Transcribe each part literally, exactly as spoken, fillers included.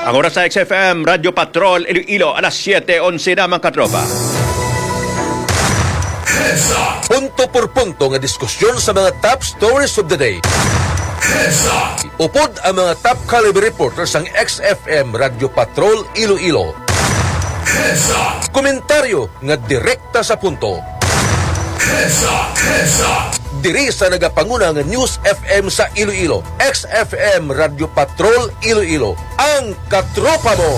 Ang oras sa X F M Radyo Patrol Iloilo, alas siyete onse na, mga katropa. Punto por punto nga diskusyon sa mga top stories of the day. Upod ang mga top caliber reporters sang X F M Radyo Patrol Iloilo. Komentaryo nga direkta sa punto. Diri sa nagapanguna nga News F M sa Iloilo, X F M Radyo Patrol Iloilo, ang katropa mo.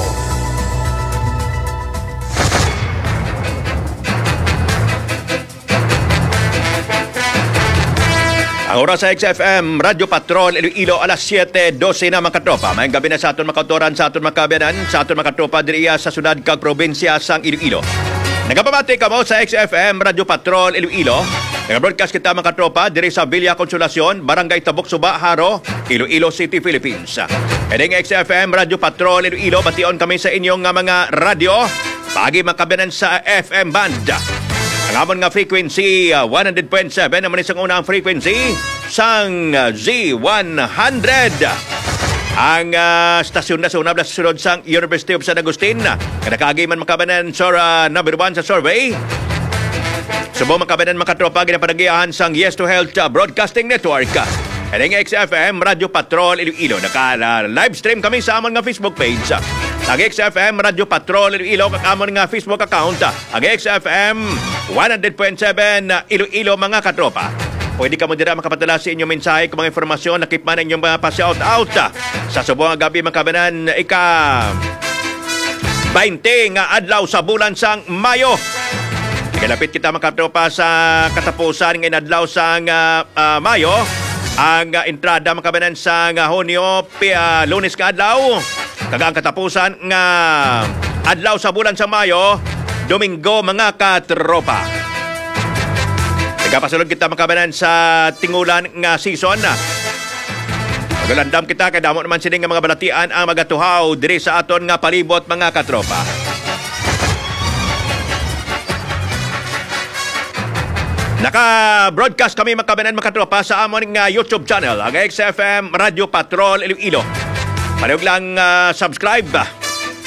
Ang oras sa X F M Radyo Patrol Iloilo, alas siyete dose na, mga katropa. Maayong gabi na sa aton mga kautoran, sa aton mga kaabyanan, sa aton mga katropa diriya sa syudad kag probinsya sang Iloilo. Nagapamati kamo sa X F M Radyo Patrol Iloilo. Nagabroadcast kita, mga katropa, diri sa Villa Consolacion, Barangay Tabok Suba, Jaro, Iloilo City, Philippines. Kini nga X F M Radyo Patrol Iloilo, bation kami sa inyo nga mga radyo. Paagi, mga kaabyanan, sa F M band. Ang amon nga frequency, ah, one hundred point seven, amo ni sang una ang frequency sang, ah, Z one hundred. Ang, ah, stasyon na sa una, sa sulod sang University of San Agustin, nga nakaagi man, mga kaabyanan, sa, ah, number one sa survey. Subong, mga kaabyanan, mga katropa, ginapanagiahan sang Yes to Health, ah, Broadcasting Network. Kini nga X F M Radyo Patrol Iloilo. Naka, ah, live stream kami sa amon nga Facebook page. Ang X F M Radyo Patrol Iloilo, kag amon nga Facebook account. Ang X F M one hundred point seven Iloilo, mga katropa. Pwede kamo dira makapadala sa inyong mensahe kung mga informasyon, lakip man ang inyong mga pa-shout out. Sa subong nga gab-i, mga kaabyanan, ika baynte nga adlaw sa bulan sang Mayo. Nagalapit kita, mga katropa, sa katapusan nga inadlaw sang, ah, ah, Mayo. Ang, ah, entrada, mga kaabyanan, sang, ah, Hunyo, pi-, ah, Lunes nga adlaw. Kag ang katapusan nga adlaw sa bulan sang Mayo, Domingo, mga katropa. Nagapasulod kita, mga kaabyanan, sa tingulan nga season. Magalandam kita kay damo naman sini nga mga balatian ang magatuhaw diri sa aton nga palibot, mga katropa. Naka-broadcast kami, mga kaabyanan, mga katropa, sa amon nga YouTube channel, ang X F M Radyo Patrol Iloilo. Palihog lang, ah, subscribe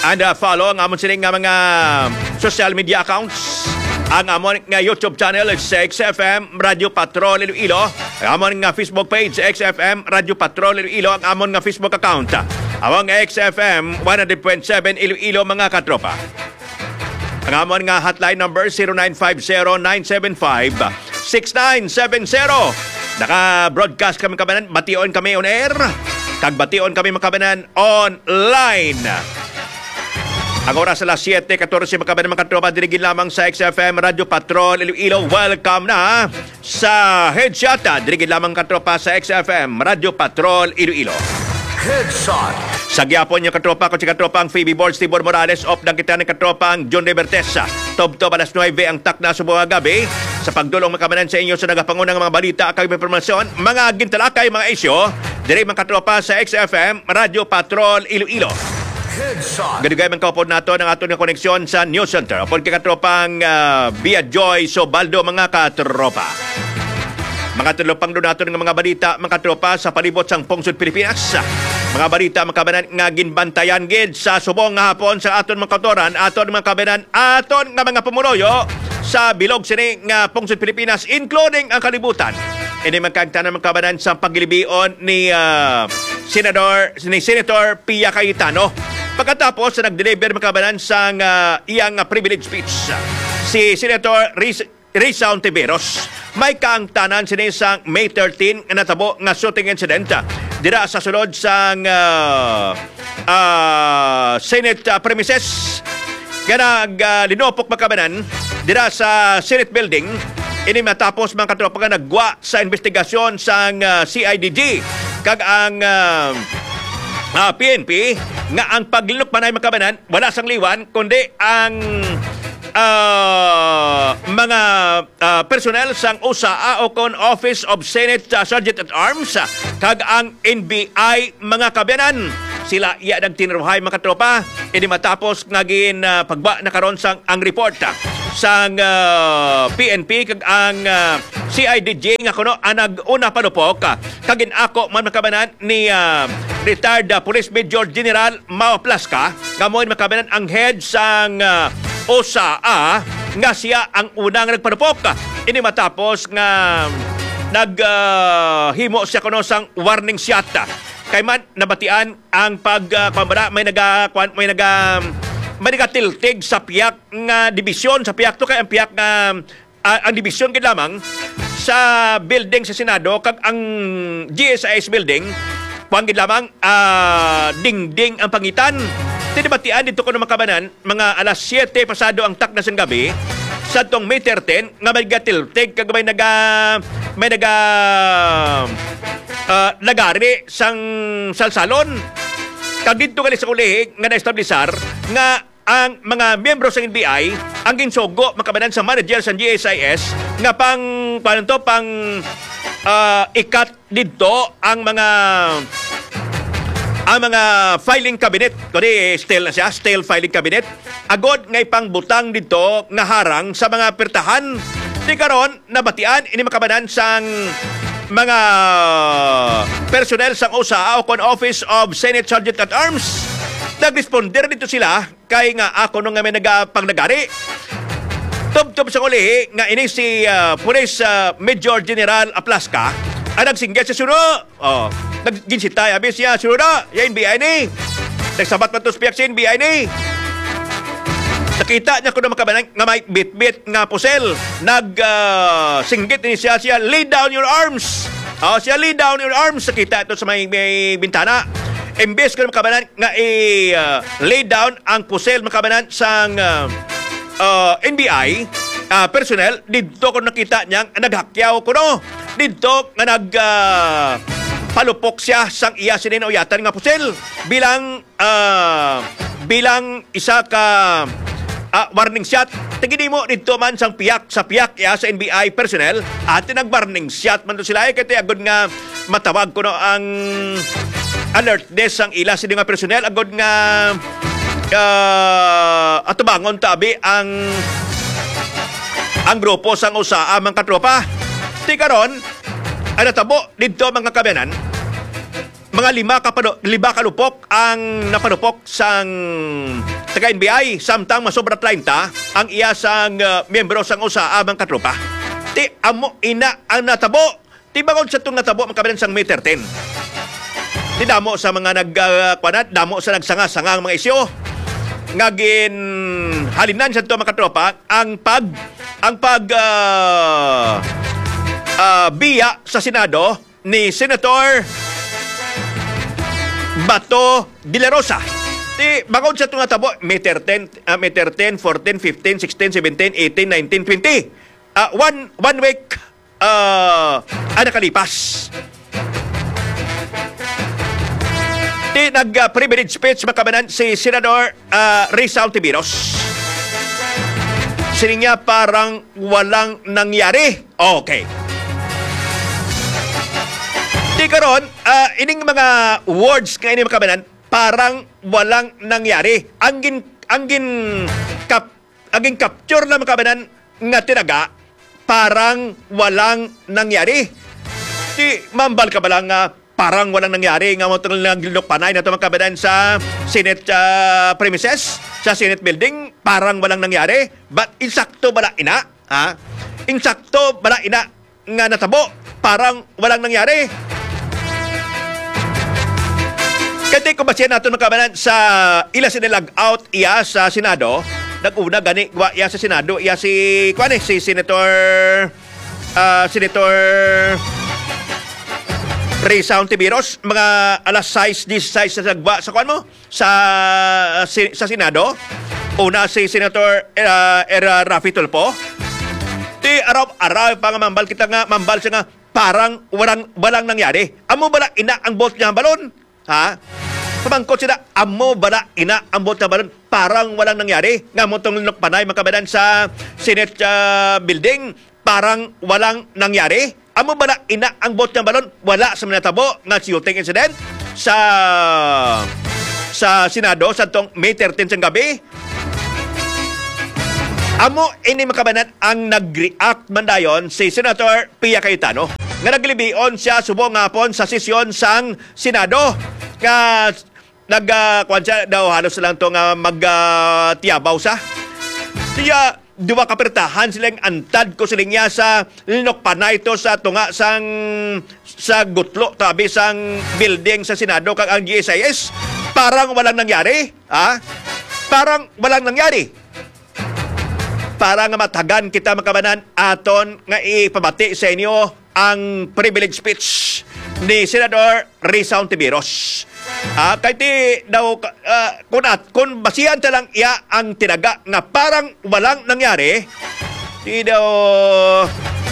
and, ah, follow ang amon sini nga mga social media accounts. Ang amon nga YouTube channel is X F M Radyo Patrol Iloilo. Ang amon nga Facebook page, X F M Radyo Patrol Iloilo. Ang amon nga Facebook account, among X F M one hundred point seven Iloilo, mga katropa. Ang amon nga hotline number, zero nine five zero, nine seven five, six nine seven zero. Naka-broadcast kami, mga kaabyanan, bation kami on air, kag bation kami, mga kaabyanan, online. Ang oras alas siyete katorse, mga kaabyanan, mga katropa, diri gid lamang sa X F M Radyo Patrol Iloilo. Welcome na sa Headshot, ah, diri gid lamang, katropa, sa X F M Radyo Patrol Iloilo. Headshot. Sa gihapon niyo, katropa, ko si katropang Phoebe Borge, Tibor Morales, updan kita ni katropang John Libertesa. Tubtob alas nuebe ang takna subong nga gab-i. Sa pagdulong, mga kaabyanan, sa inyo sa nagapangunang mga balita kag impormasyon, mga gintalakay, mga isyu, diri, mga katropa, sa X F M Radyo Patrol Iloilo. Headshot. Gadugay man kaupod nato ang aton nga koneksyon sa News Center. Upod kay katropang, ah, Bia Joy Sobaldo, mga katropa. Mga talupangdo naton nga mga balita, mga katropa, sa palibot sang pungsod Pilipinas. Mga balita, mga kaabyanan, nga ginbantayan gid sa subong nga hapon sa aton mga kautoran, aton mga kaabyanan, aton nga mga pumuluyo sa bilog sini nga pungsod Pilipinas, including ang kalibutan. Ini man kay ang tanan, mga kaabyanan, sa paglibot ni, ah, Senador, ni Senator Pia Cayetano. Pagkatapos sa nag-deliver, mga kaabyanan, sang, ah, iyang, ah, privilege speech, si Senator Riz-, Risa Ontiveros. May kaangtanan sini sang May thirteen nga natabo nga shooting incident, ah, dira sa sulod sang, ah, ah, Senate, ah, premises nga nag, ah, linupok, mga kaabyanan, dira sa Senate building. Ini matapos, mga katropa, nga naggwa sa investigasyon sang, ah, C I D G kag ang, ah, ah, P N P nga ang paglinukmanay, mga kaabyanan, wala sang liwan kundi ang, ah, mga, ah, personnel sang usa, ah, o kon Office of Senate, ah, Sergeant at Arms, ah, kag ang N B I, mga kaabyanan. Sila iya nagtinruhay, mga katropa. Ini matapos nga gin, ah, paggwa na karon sang ang report, ah, sang, ah, P N P kag ang, ah, C I D G nga kuno ang nag-una panupok, ah, kag gin-ako man, mga kabanan, ni, ah, retired, ah, Police Major General Mao Plasca, nga mo, mga kabanan, ang head sang, ah, OSAA, nga siya ang unang nagpanupok. Ini matapos nga nag, ah, himo siya kuno sang warning shot. Kay man nabatian ang pag, ah, kuwan ba na, may naga-, kuwan, may naga-, may nagatiltig sa piyak nga dibisyon, sa piyak to kay ang piyak nga, ah, ang dibisyon gid lamang sa building sa Senado kag ang G S I S building, kuwan gid lamang, ah, dingding ang pangitan. Tinabatian dito kuno, mga kabanan, mga alas siyete pasado ang takna sang gabi, sa tong May thirteen, nga may gatiltig kag may naga-, may naga-, ah, nagari sang salsalon. Kag didto gali sa ulihi nga naestablisar nga ang mga miyembro sa N B I ang ginsugo, mga kabanan, sa manager sa G S I S nga pang, paano to, pang, ah, ikat didto ang mga, ang mga filing cabinet. Kundi steel na siya, steel filing cabinet. Agod nga ipangbutang didto nga harang sa mga pirtahan. Di karon, nabatian ini, mga kabanan, sang mga personnel sang OSAA o kon Office of Senate Sergeant at Arms. Nagresponder dito sila kay nga ako no nga may nagapangnagari. Tubtob sa ulihi nga ini si, ah, Police, ah, Major General Aplasca ang nagsinggit sa suno. Oh, nagginsitay, abi siya, "Suno na, ya N B I ni." Nagsabat man to sa piyak sa N B I ni. Nakita niya kuno, mga kabanan, nga may bitbit nga pusel. Nag, ah, singgit ni siya, siya, "Lay down your arms." Oh, siya, "Lay down your arms." Nakita ito sa may, may bintana. Imbes ko, mga kabanan, nga i, ah, lay down ang pusel, mga kabanan, sang, ah, ah, N B I, ah, personnel, didto ko nakita niya nga naghakyaw kuno. Didto nga nag, ah, palupok siya sang iya sini nauyatan nga pusel bilang, ah, bilang isa ka, ah, warning shot. Tingin mo didto man sang piyak, sa piyak iya sa N B I personnel, ati nag-warning shot man to sila, eh, kay agod nga matawag kuno ang alert desk sang ila sini nga personnel, agod nga, ah, atubangon tabi ang, ang grupo sang OSAA, mga katropa. Ti karon, ang natabo didto, mga kabanan, mga lima ka pano-, lima ka lupok ang napanupok sang taga N B I, samtang masobra treinta ang iya sang, ah, miyembro sang OSAA, mga katropa. Ti amo ina ang natabo. Ti bangod sa tong natabo, mga kabanan, sang May thirteen. Ti damo sa mga nag, ah, kuwan na, damo sa nagsanga-sanga ang mga isyu nga ginhalinan sa to, mga katropa, ang pag, ang pag, ah, ah, biya sa Senado ni Senator Bato de la Rosa. Ti bangod sa tong natabo, May thirteen, ah, May thirteen, fourteen, fifteen, sixteen, seventeen, eighteen, nineteen, twenty. Ah, one, one week, ah, ang nakalipas. Ti nag, ah, privilege speech, mga kabanan, si Senador, ah, Risa Ontiveros. Sining niya, "Parang walang nangyari." Okay. Ti karon, ah, ining mga words nga ini, mga kabanan, "Parang walang nangyari." Ang gin-, ang gin-, kap-, ang gin-capture lang, mga kabanan, nga tinaga, "Parang walang nangyari." Ti mambal ka ba lang nga parang walang nangyari nga mo tong naglinukpanay na to, mga kabanan, sa Senate, ah, premises, sa Senate building, parang walang nangyari? But insakto bala ina? Ha? Insakto bala ina nga natabo? Parang walang nangyari. Kay ti kung basihan naton, mga kabanan, sa ila sini lag-out iya sa Senado, nag-una gani wa iya sa Senado, iya si, kuwan eh, si Senator, ah, Senator Risa Ontiveros, mga alas sais disisais sa sagwa sa, kuwan mo, sa, si-, sa Senado. Una si Senator, ah, Era Raffy Tulfo. Ti araw-araw pa nga mambal kita nga, mambal siya nga parang walang, walang nangyari. Amo bala ina ang buot niya balon? Ha? Pamangkot sila, amo bala ina ang buot niya balon? Parang walang nangyari. Nga mo tong nukpanay, mga kabanan, sa Senate, ah, building, parang walang nangyari. Amo bala ina ang buot niya balon? Wala sa manatabo nga shooting incident sa, sa Senado sa tong May thirteen sang gabi. Amo ini, mga kababayan, ang nag-react man dayon si Senator Pia Cayetano, nga naglibion siya subong nga hapon sa sesyon sang Senado, nga nag, ah, kuwan siya daw, halos lang to nga mag, ah, tiyabaw sa. Siya, duwa ka pirtahan silang antad ko siling niya sa linukbanay to sa tunga sang, sa gutlo tabi sang building sa Senado kag ang G S I S. Parang walang nangyari, ha? Parang walang nangyari. Para nga matagan kita, mga kababayan, aton nga ipabati sa inyo ang privilege speech ni Senador Risa Hontiveros. Ah, kay ti daw ka-, ah, kun at, kun basihan ta lang iya ang tinaga nga parang walang nangyari, ti daw,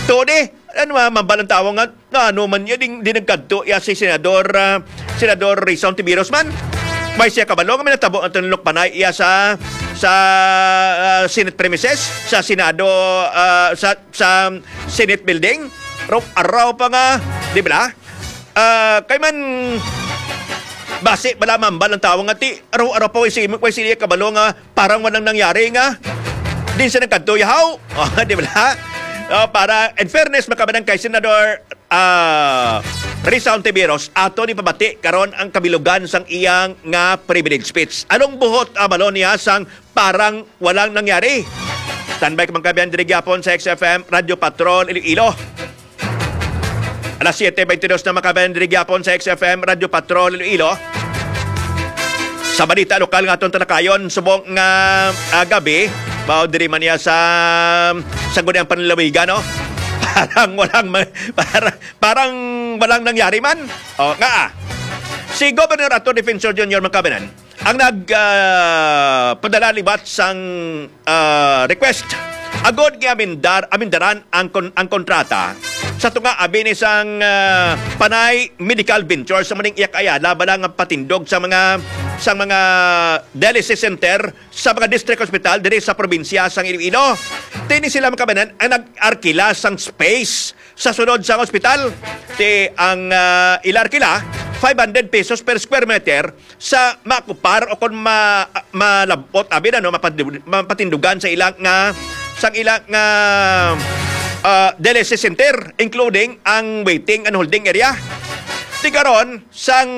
tuod eh, ano, ma-, mambal ang tawo nga, nga ano man niya, di, di nagkadto iya si Senador, ah, Senador Risa Hontiveros man. May siya kabalo nga may natabo ang tinulok panay iya sa, sa, ah, Senate premises, sa Senado, ah, sa, sa Senate building. Raw, araw pa nga, di ba? Ah, kay man, basi bala mambal ang tawo nga ti, araw-araw pa, way si, way si iya kabalo nga parang walang nangyari nga. Di siya nagkadto, yahaw. Oh, di ba? Oh, para, in fairness, mga kababayan, kay Senador, ah, Risa Hontiveros, ato ni pabati karon ang kabilugan sang iyang nga privilege speech. Anong buhot, ah, balo niya sang parang walang nangyari? Standby ka, mga kababayan, diri gyapon sa X F M Radyo Patrol Iloilo. Alas siete beintidos na, mga kababayan, diri gyapon sa X F M Radyo Patrol Iloilo. Sa balita lokal nga aton talakayon subong nga, ah, gabi, mao diri man niya sa, sa Sangguniang Panlalawigan, no? Parang walang ma-, para-, parang walang nangyari man. Oh, nga, ah. Si Governor Arthur Defensor Junior, mga kababayan, ang nag, ah, padala liwat sang, ah, request agod nga amendar-, amendaran ang kon-, ang kontrata sa tunga abi ni sang, ah, Panay Medical Venture sa maning iyak ayala bala nga patindog sa mga, sa mga dialysis center sa mga district hospital diri sa probinsya sang Iloilo. Ti ini sila, mga kababayan, ang nag-arkila sang space sa sulod sang ospital. Ti ang, ah, ila arkila, five hundred pesos per square meter sa maokupar o kon ma-, malab-ot, abi na, no, mapatindug-, mapatindugan sa ilang nga, sang ilang nga, ah, dialysis center, including ang waiting and holding area. Ti karon, sang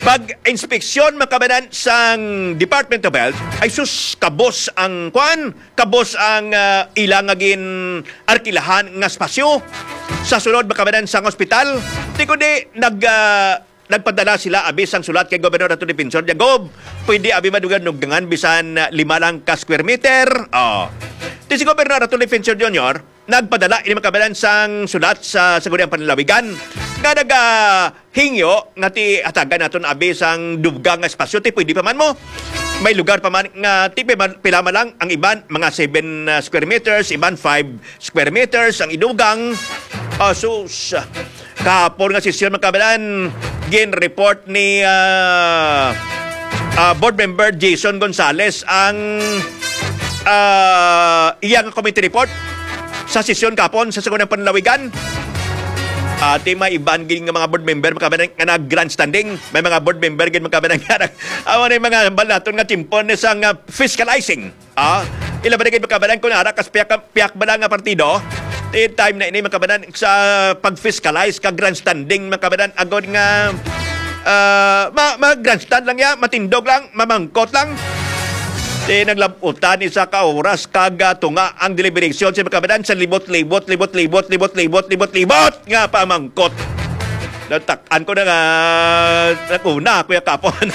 pag-inspeksyon, mga kababayan, sang Department of Health, ay sus, kabos ang kwan, kabos ang, ah, ila nga gin-arkilahan nga espasyo. Sa sulod, mga kababayan, sang ospital, ti kundi nag, ah, nagpadala sila abi sang sulat kay Gobernador Arthur Defensor, "Gob, pwede abi madugan-dugangan bisan, ah, lima lang ka square meter?" Oh. Ti si Gobernador Arthur Defensor Junior, nagpadala ini, mga kababayan, sang sulat sa Sangguniang Panlalawigan nga nagahingyo nga ti hatagan naton abi sang dugang nga espasyo, ti pwede pa man mo. May lugar pa man nga ti pila, pila man lang, ang iban mga seven, ah, square meters, iban five square meters ang idugang. Ah, sus, kahapon nga sesyon, mga kababayan, gin-report ni, ah, ah, Board Member Jason Gonzales ang, ah, iya nga committee report sa sesyon kahapon sa Sangguniang Panlalawigan. Ati, may iban gid nga mga board member, mga kababayan, nga nag-grandstanding. May mga board member gid, mga kababayan, nga nag-, amo na yung mga hambal naton nga timpon ni sang, ah, fiscalizing. Ah, ila ba na gid, mga kababayan, kung ara kas piyak, piyak ba lang nga partido? Ti time na ini, mga kababayan, sa pag-fiscalize ka grandstanding, mga kababayan, agod nga, ah, ma-, ma-grandstand lang ya, matindog lang, mamangkot lang. Ti naglabutan ni sa ka oras kag, ah, tunga ang deliberation sa, mga kababayan, sa libot-libot, libot-libot, libot-libot, libot-libot nga pamangkot. Natak-an ko na nga nag-una, Kuya Kapon.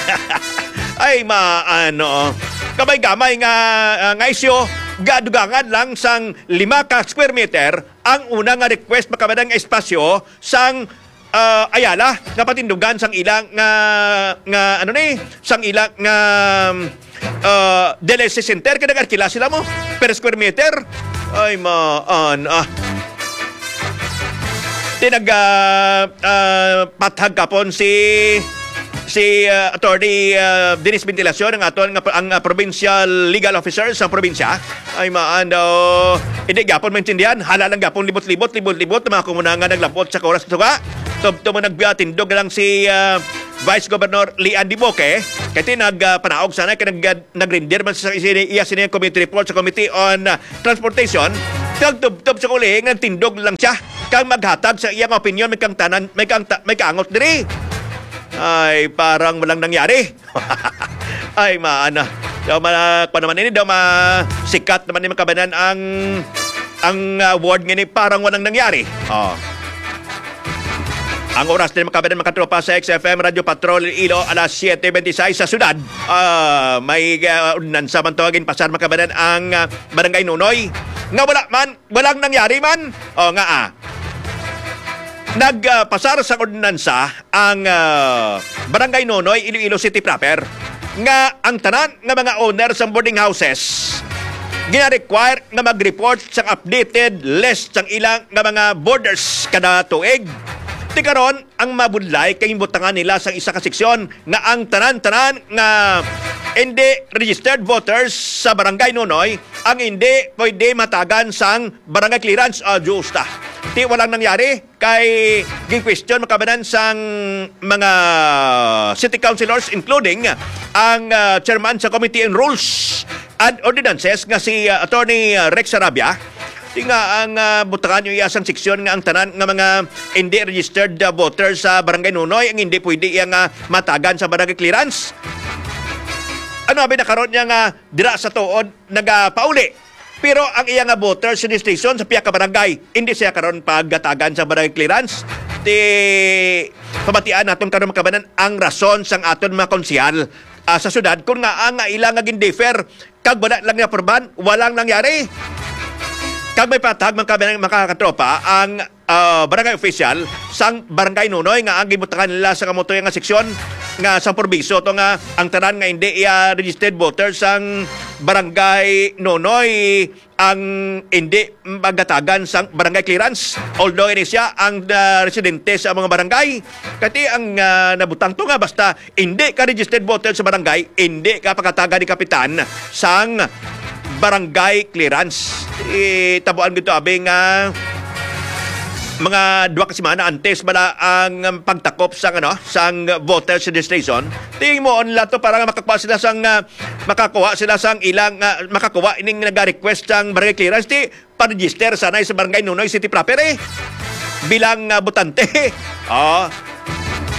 Ay, maano. Gamay-gamay nga, ah, nga isyu, gadugangan lang sang lima ka square meter ang una nga request, mga kababayan, nga espasyo sang, ah, Ayala nga patindugan sang ilang nga, nga ano ni, sang ilang nga, ah, dialysis center kay nag-arkila sila mo per square meter. Ay, maan, ah. Ti nag, ah, ah, pathag kapon si, si, ah, Attorney, ah, Dennis Ventilacion, ang aton nga, ang, ah, provincial legal officer sa probinsya. Ay, maan daw. Hindi gyapon maintindihan. Hala lang gyapon libot-libot, libot-libot, mga kumuna nga naglabot sa oras to ka. Tubtob mo nagbiya, tindog lang si, ah, Vice Governor Lian Diboque. Kay ti nag, ah, panaog sana kay nag, ah, nag-render man sa sini, iya sini ang committee report sa Committee on, ah, Transportation. Kag tubtob sa uli, nagtindog lang siya. Kang maghatag sa iyang opinion, may kang tanan, may kang ta-, may kaangot diri. Ay, parang walang nangyari. Ay, maana. Daw ma-, pa naman ini, daw ma-, sikat naman ni makabanan ang, ang, ah, word nga ini, parang walang nangyari. Oh. Ang oras din, makabanan, makatropa, sa X F M Radio Patrol Iloilo, alas siete veintiséis sa syudad. Ah, may, ah, ordinansa man to, ginpasar, makabanan, ang, ah, Barangay Nunoy. Nga wala man, walang nangyari man. O nga, ah. Nagpasar sa ordinansa ang, ah, Barangay Nonoy, Iloilo City proper, nga ang tanan nga mga owner sang boarding houses gina-require nga mag-report sang updated list sang ilang nga mga boarders kada tuig. Ti karon, ang mabudlay kay butangan nila sang isa ka seksyon nga ang tanan-tanan nga hindi registered voters sa Barangay Nonoy ang hindi pwede matagan sang barangay clearance. Ah, justa. Ti walang nangyari kay gin-question makabanan sang mga city councilors, including ang, ah, chairman sa Committee on Rules and Ordinances nga si, ah, Attorney, ah, Rex Sarabia. Ti nga ang, ah, butangan niyo iya sang seksyon nga ang tanan nga mga hindi registered, ah, voter sa Barangay Nunoy ang hindi pwede iya nga matagan sa barangay clearance. Ano abi na karon niya nga dira sa tuod nagapauli? Pero ang iya nga voter registration sa pihak ka barangay, hindi siya karon pagatagan sa barangay clearance. Ti pamatian naton karon makabanan ang rason sang aton mga konsehal, ah, sa syudad kung nga ang ila nga gin-defer kag wala lang niya purban, walang nangyari. Kag may patag man kami, mga katropa, ang, ah, barangay official sang Barangay Nunoy nga ang gibutangan nila sa kamutoy nga seksyon nga sang probiso to nga ang tanan nga hindi iya registered voter sang Barangay Nunoy ang hindi magatagan sang barangay clearance. Although ini siya ang, ah, residente sa mga barangay, kati ang, ah, nabutang to nga basta hindi ka registered voter sa barangay, hindi ka pagatagan ni kapitan sang barangay clearance. Itabuan gito abi nga mga duha ka semana antes bala ang pagtakop sang, ano, sang voters registration. Tingmo nila to para nga makakuha sila sang, ah, makakuha sila sang ilang, ah, makakuha ining nag-request sang barangay clearance. Ti pa-register sanay sa Barangay Nunoy City proper, eh. Bilang, ah, botante. Oh.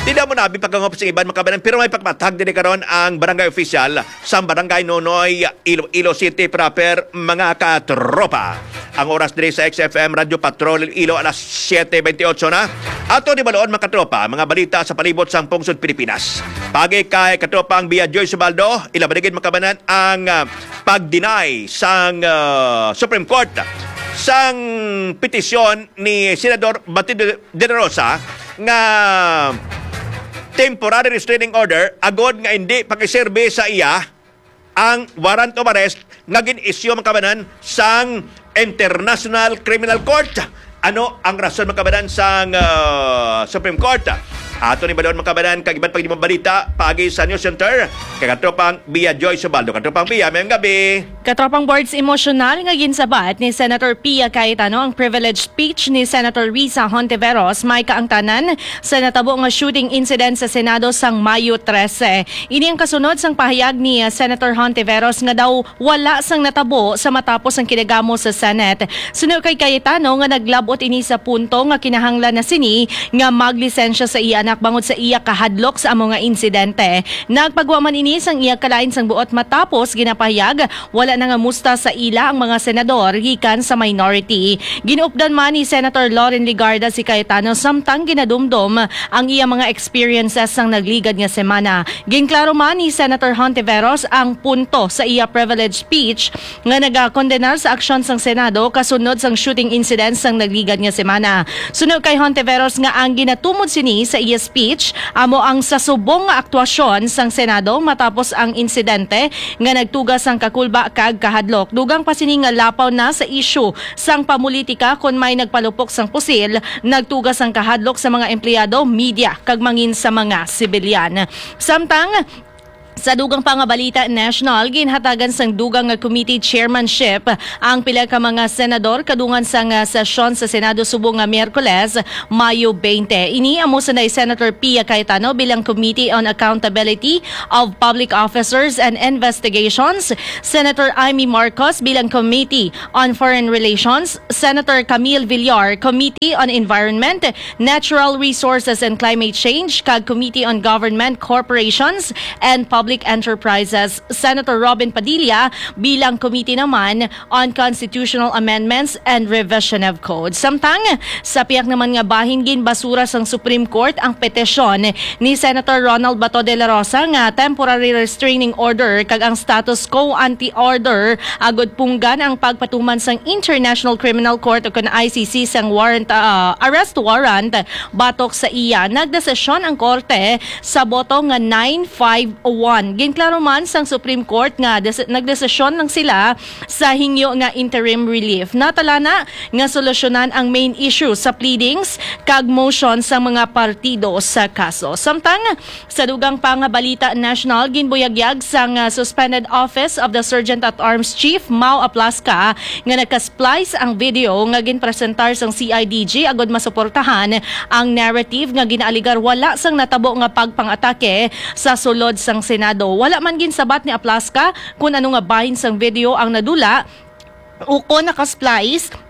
Di na mo nabi pagkangop sa iban makabanan, pero may pagmatag din karon ang barangay official sa Barangay Nunoy, Iloilo City proper, mga katropa. Ang oras diri sa X F M Radio Patrol Iloilo, alas siete veintiocho na. Ato ni balon, mga katropa, mga balita sa palibot sang pungsod Pilipinas. Pagi kay katropang Bia Joy Subaldo, ilabaligid makabanan ang, ah, pag-deny sang, ah, Supreme Court sang petisyon ni Senador Bato de, de la Rosa nga temporary restraining order agod nga hindi pakiserbi sa iya ang warrant of arrest nga gin-issue, mga kabanan, sang International Criminal Court. Ano ang rason, mga kabanan, sang, ah, Supreme Court? Ato ni balon, mga kabanan, kag iban pag balita paagi sa News Center kay katropang Bia Joy Subaldo. Katropang Bia, mayong gabi. Katropang Boards, emosyonal nga ginsabat ni Senator Pia Cayetano ang privilege speech ni Senator Risa Hontiveros may kaangtanan sa natabo nga shooting incident sa Senado sang Mayo trese. Ini ang kasunod sang pahayag ni, ah, Senator Hontiveros nga daw wala sang natabo sa matapos ang kinagamo sa Senate. Suno kay Cayetano nga naglab-ot ini sa punto nga kinahanglan na sini nga maglisensya sa iya anak bangod sa iya kahadlok sa amo nga insidente. Nagpagwa man ini sang iya kalain sang buot matapos ginapahayag wala na nga musta sa ila ang mga senador gikan sa minority. Ginuupdan man ni Senator Loren Legarda si Cayetano samtang ginadumdom ang iya mga experiences sang nagligad nga semana. Ginklaro man ni Senator Hontiveros ang punto sa iya privilege speech nga nagakondenar sa aksyon sang Senado kasunod sang shooting incident sang nagligad nga semana. Suno kay Hontiveros nga ang ginatumod sini sa iya speech amo ang sa subong nga aktwasyon sang Senado matapos ang insidente nga nagtuga sang kakulba kag kahadlok. Dugang pa sini nga lapaw na sa isyu sang pamulitika kon may nagpalupok sang pusil, nagtuga sang kahadlok sa mga empleyado, media, kag mangin sa mga sibilyan. Samtang Sa dugang pa nga balita national, ginhatagan sang dugang nga committee chairmanship ang pila ka mga senador kadungan sang, ah, sesyon sa Senado subong nga Miyerkules, Mayo twenty. Ini amo sanday Senator Pia Cayetano bilang Committee on Accountability of Public Officers and Investigations, Senator Imee Marcos bilang Committee on Foreign Relations, Senator Camille Villar, Committee on Environment, Natural Resources and Climate Change, kag Committee on Government, Corporations, and Public Enterprises, Senator Robin Padilla bilang Committee naman on Constitutional Amendments and Revision of Code. Samtang sa pihak naman nga bahin, ginbasura sang Supreme Court ang petisyon ni Senator Ronald Bato de la Rosa nga temporary restraining order kag ang status quo ante order agud punggan ang pagpatuman sang International Criminal Court o kon I C C sang warrant, ah, arrest warrant batok sa iya. Nagdesisyon ang korte sa boto nga nine five one. Ginklaro man sang Supreme Court nga des-, nagdesisyon lang sila sa hingyo nga interim relief. Natala na nga solusyonan ang main issue sa pleadings kag motion sa mga partido sa kaso. Samtang sa dugang pa nga balita national, ginbuyagyag sang, ah, suspended office of the Sergeant at Arms Chief Mau Aplasca nga naka-splice ang video nga ginpresentar sang C I D G agud masuportahan ang narrative nga ginaaligar wala sang natabo nga pagpang-atake sa sulod sang Senado. Wala man ginsabat ni Aplasca kun ano nga bahin sang video ang nadula ukon naka-splice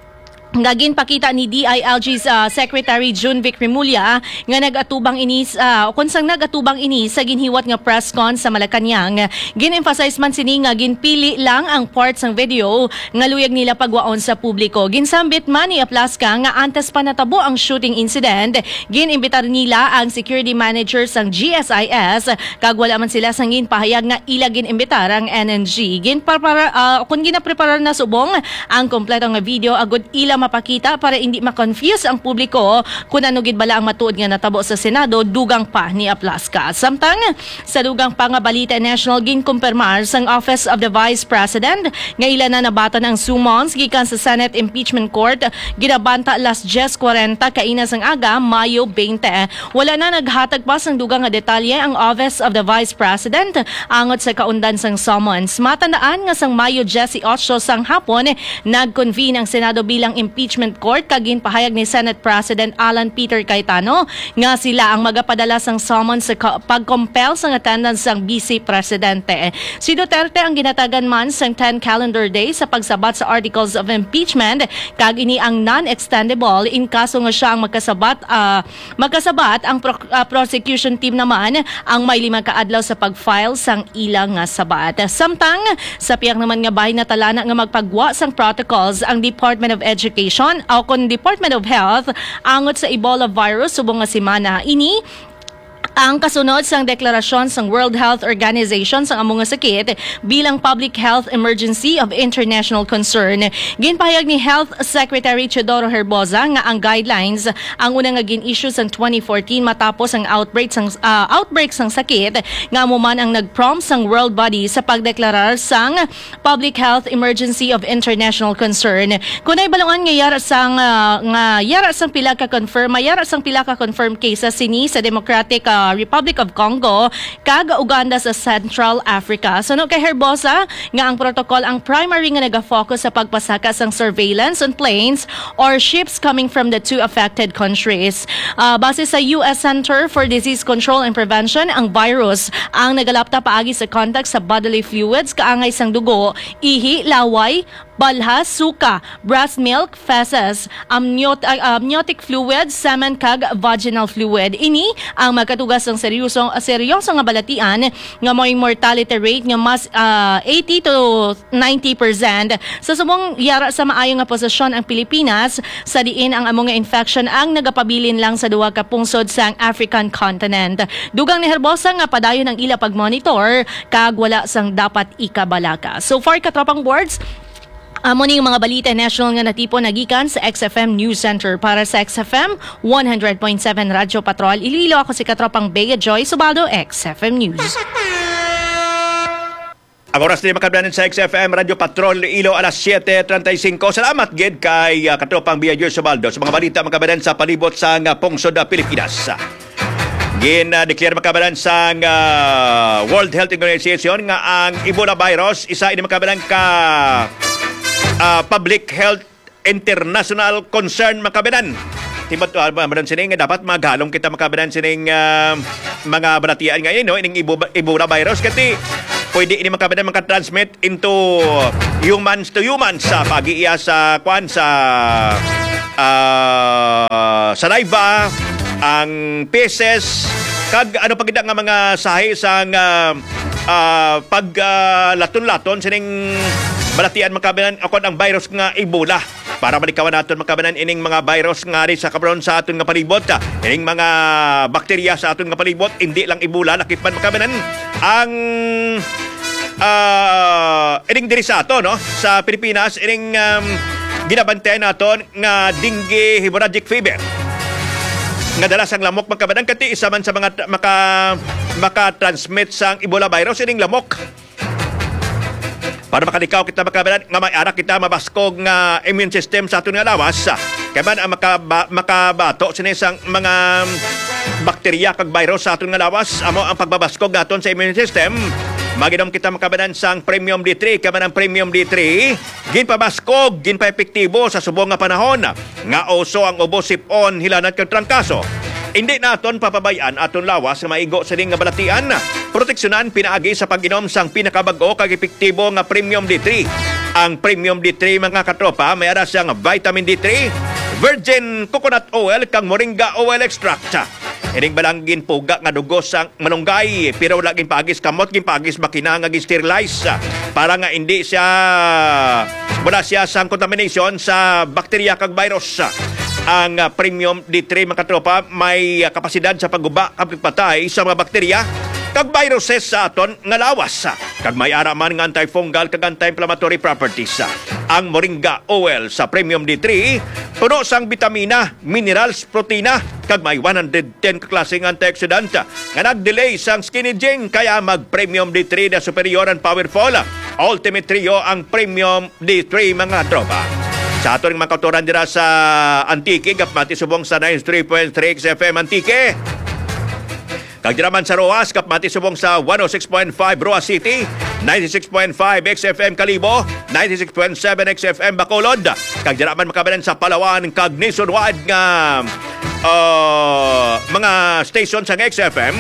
nga ginpakita ni D I L G, ah, Secretary Jun Vic Remulla nga nag-atubang ini sa, o kon sang nag-atubang ini sa ginhiwat nga press con sa Malacañang. Gin-emphasize man sini nga ginpili lang ang part sang video nga luyag nila pagwaon sa publiko. Ginsambit man ni Aplasca nga antes pa natabo ang shooting incident, gin-imbitar nila ang security manager sang G S I S kag wala man sila sang ginpahayag nga ila gin-imbitar ang N N G. Ginpapara-, ah, kung ginapreparar na subong ang kompleto nga video agud ila mapakita para hindi ma-confuse ang publiko kun ano gid bala ang matuod nga natabo sa Senado, dugang pa ni Aplasca. Samtang sa dugang pa nga balita national, ginkumpirmar sang Office of the Vice President nga ila na nabaton ang summons gikan sa Senate Impeachment Court, ginabanta alas dyes kwarenta kaina sang aga, Mayo twenty. Wala na naghatag pa sang dugang nga detalye ang Office of the Vice President angot sa kaundan sang summons. Matandaan nga sang Mayo diyesotso sang hapon, nag-convene ang Senado bilang impeachment court kag ginpahayag ni Senate President Alan Peter Cayetano nga sila ang magapadala sang summons sa ka-, pag-compel sang attendance sang Vice Presidente. Si Duterte ang ginatagan man sang ten calendar days sa pagsabat sa articles of impeachment, kag ini ang non-extendable in kaso nga siya ang magkasabat, ah, magkasabat. Ang pro-, ah, prosecution team naman ang may lima ka adlaw sa pag-file sang ila nga sabat. Samtang sa pihak naman nga bahin, natala na nga magpagwa sang protocols ang Department of Education o kon Department of Health angot sa Ebola virus subong nga semana. Ini ang kasunod sang deklarasyon sang World Health Organization sang amo nga sakit bilang public health emergency of international concern. Ginpahayag ni Health Secretary Teodoro Herbosa nga ang guidelines ang una nga gin-issue sang twenty fourteen matapos ang outbreak sang, ah, outbreak sang sakit nga amo man ang nag-prompt sang World Body sa pagdeklarar sang public health emergency of international concern. Kung nahibaluan nga yara sang, ah, nga yara sang pila ka confirm, may yara sang pila ka confirmed cases sini sa Democratic, ah, Republic of Congo kag Uganda sa Central Africa. Suno kay Herbosa nga ang protocol ang primary nga nagafocus sa pagpasaka sang surveillance on planes or ships coming from the two affected countries. Ah, base sa U S Center for Disease Control and Prevention, ang virus ang nagalapta paagi sa contact sa bodily fluids, kaangay sang dugo, ihi, laway, balha, suka, breast milk, feces, amniot-, ah, amniotic fluid, semen, kag vaginal fluid. Ini ang magkatugas sang seryoso, seryoso nga balatian nga may mortality rate nga mas, ah, eighty to ninety percent. Sa subong yara sa maayo nga posisyon ang Pilipinas, sa diin ang amo nga infection ang nagapabilin lang sa duha ka pungsod sang African continent. Dugang ni Herbosa nga padayon ang ila pagmonitor kag wala sang dapat ikabalaka. So far, katropang boards, amo ning mga balita national nga natipon nagikan sa X F M News Center. Para sa X F M one hundred point seven Radyo Patrol Iloilo, ako si katropang Bea Joy Subaldo, X F M News. Ang oras ni makabdanan sa X F M Radyo Patrol Ilo, alas siete treinta y cinco. Salamat gid kay, ah, katropang Bea Joy Subaldo sa mga balita makabanan sa palibot sa nga pungsod, ah, Pilipinas. Gin-declare, mga kababayan, sang, ah, World Health Organization nga ang Ebola virus isa ini, mga kababayan, ka, ah, public health international concern, mga kababayan. Timat-, ah, ba, ba, sining dapat maghalong kita, mga kababayan, sining, ah, mga balatian nga ini, no? Ining Ebo-, Ebola virus, kasi pwede ini, mga kababayan, makatransmit into humans to humans sa pag-iya sa, kwan, sa, ah, saliva, ang feces, kag ano pa gid nga mga sahi sang, ah, ah, pag, ah, laton-laton sining balatian, mga kababayan, o kon ang virus nga Ebola. Para malikawan naton, mga kababayan, ining mga virus nga ari sa karon sa aton nga palibot, ah, ining mga bakterya sa aton nga palibot, hindi lang Ebola, lakip man, mga kababayan, ang, ah, ining diri sa aton, no, sa Pilipinas, ining, um, ginabantayan naton nga dengue hemorrhagic fever nga dala sang lamok, mga kababayan, kati isa man sa mga tra-, maka-, maka-transmit sang Ebola virus ining lamok. Para makalikaw kita, mga kababayan, nga may ara kita mabaskog nga immune system sa aton nga lawas. Kay man ang makaba-, makabato sini sang mga bakterya kag virus sa aton nga lawas, amo ang pagbabaskog naton sa immune system. Mag-inom kita, mga kababayan, sang Premium D three, kay man ang Premium D three ginpabaskog, ginpaepektibo sa subong nga panahon nga uso ang ubo, sip-on, hilanat kag trangkaso. Indi naton papabay-an aton lawas nga maigo sining nga balatian. Proteksyonan pinaagi sa pag-inom sang pinakabag-o kag epektibo nga Premium D three. Ang Premium D three, mga katropa, may ara siyang vitamin D three, virgin coconut oil, kag moringa oil extract. Ining balang ginpuga nga dugo sang malunggay, pero wala ginpaagi sa kamot, ginpaagi sa makina nga gin-sterilize, ah, para nga hindi siya, wala siya sang contamination sa bakterya kag virus. Ang, ah, Premium D three, mga katropa, may, ah, kapasidad sa pagguba kag pagpatay sa mga bakterya kag viruses sa aton nga lawas, kag may ara man nga antifungal kag anti-inflammatory properties. Ang moringa oil sa Premium D three puno sang bitamina, minerals, protina, kag may one hundred ten ka klase nga antioxidant nga nag-delay sang skin aging, kaya mag Premium D three na superior and powerful. Ultimate Trio ang Premium D three, mga tropa. Sa aton mga kautoran dira sa Antique, kapamati subong sa ninety-three point three X F M Antique. Kag dira man sa Roxas, kapamati subong sa one oh six point five Roxas City, ninety-six point five X F M Kalibo, ninety-six point seven X F M Bacolod. Kag dira man, mga kababayan, sa Palawan kag nationwide nga, uh, mga station sang X F M.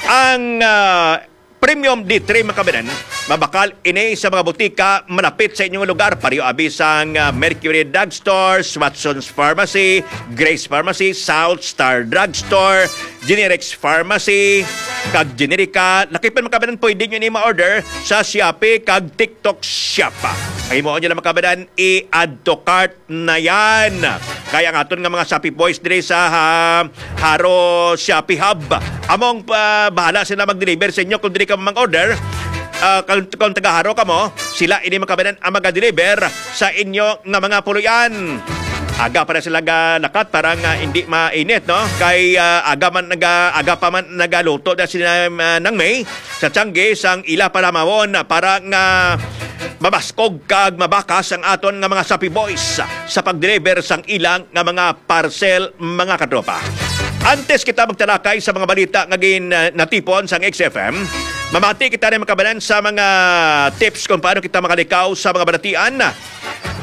Ang, uh, Premium D three, mga kababayan, mabakal ini sa mga butika malapit sa inyong lugar. Pareho abi sang, uh, Mercury Drugstore, Watson's Pharmacy, Grace Pharmacy, South Star Drugstore, Generics Pharmacy, kag Generica. Lakip man, mga kababayan, pwede nyo ni ma-order sa Shopee kag TikTok Shop. Ang imo nyo lang, mga kababayan, i-add to cart na yan. Kaya ang aton nga mga Shopee boys diri sa, ha, Jaro Shopee Hub, among, ah, bahala sila mag-deliver sa inyo kung diri ka mag-order. Ah, kung, kung taga Jaro ka mo, sila ini, mga kababayan, ang maga-deliver sa inyo nga mga puloy-an. Aga pa na sila ga lakat para nga hindi mainit, no? Kay, ah, aga man naga-, aga pa man nagaluto na sila, ah, nang May sa tiyangge sang ila palamawon para nga mabaskog kag mabakas ang aton nga mga Shopee boys sa pag-deliver sang ilang nga mga parcel, mga katropa. Antes kita magtalakay sa mga balita nga gin, ah, natipon sang X F M, mamati kita ni, mga kababayan, sa mga tips kung paano kita makalikaw sa mga balatian.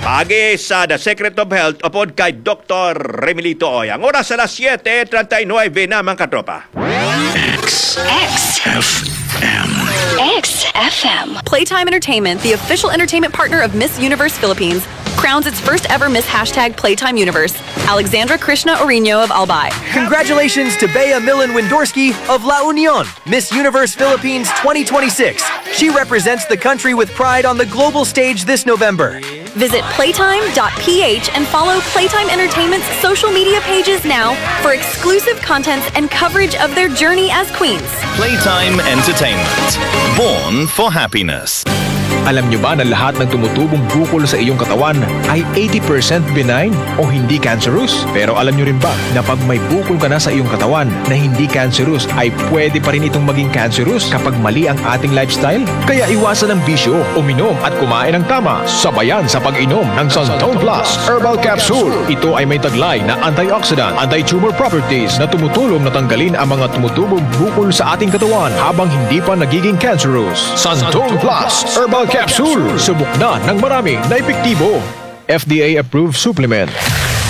Paagi sa The Secret of Health upod kay Doktor Remilito Oy. Ang oras alas siete treinta y nueve na, mga katropa. X. X. F M. X F M. Playtime Entertainment, the official entertainment partner of Miss Universe Philippines, crowns its first ever Miss Hashtag Playtime Universe, Alexandra Krishna Orino of Albay. Congratulations to Bea Millen Windorski of La Union, Miss Universe Philippines twenty twenty-six. She represents the country with pride on the global stage this November. Visit playtime dot P H and follow Playtime Entertainment's social media pages now for exclusive contents and coverage of their journey as queens. Playtime Entertainment. Born for happiness. Alam nyo ba na lahat ng tumutubong bukol sa iyong katawan ay eighty percent benign o hindi cancerous? Pero alam nyo rin ba na pag may bukol ka na sa iyong katawan na hindi cancerous, ay pwede pa rin itong maging cancerous kapag mali ang ating lifestyle? Kaya iwasan ang bisyo, uminom at kumain ng tama. Sabayan sa pag-inom ng Santon Plus Herbal Capsule. Ito ay may taglay na antioxidant, anti-tumor properties na tumutulong na tanggalin ang mga tumutubong bukol sa ating katawan habang hindi pa nagiging cancerous. Santon Plus Herbal Capsule. Subok na ng marami na epektibo. F D A approved supplement.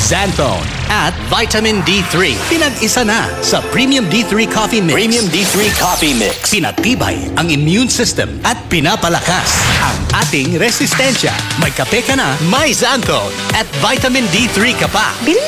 Xanthone at Vitamin D three. Pinag-isa na sa Premium D three Coffee Mix. Premium D three Coffee Mix. Pinatibay ang immune system at pinapalakas ang ating resistensya. May kape ka na, may Xanthone at Vitamin D three ka pa. Bilhin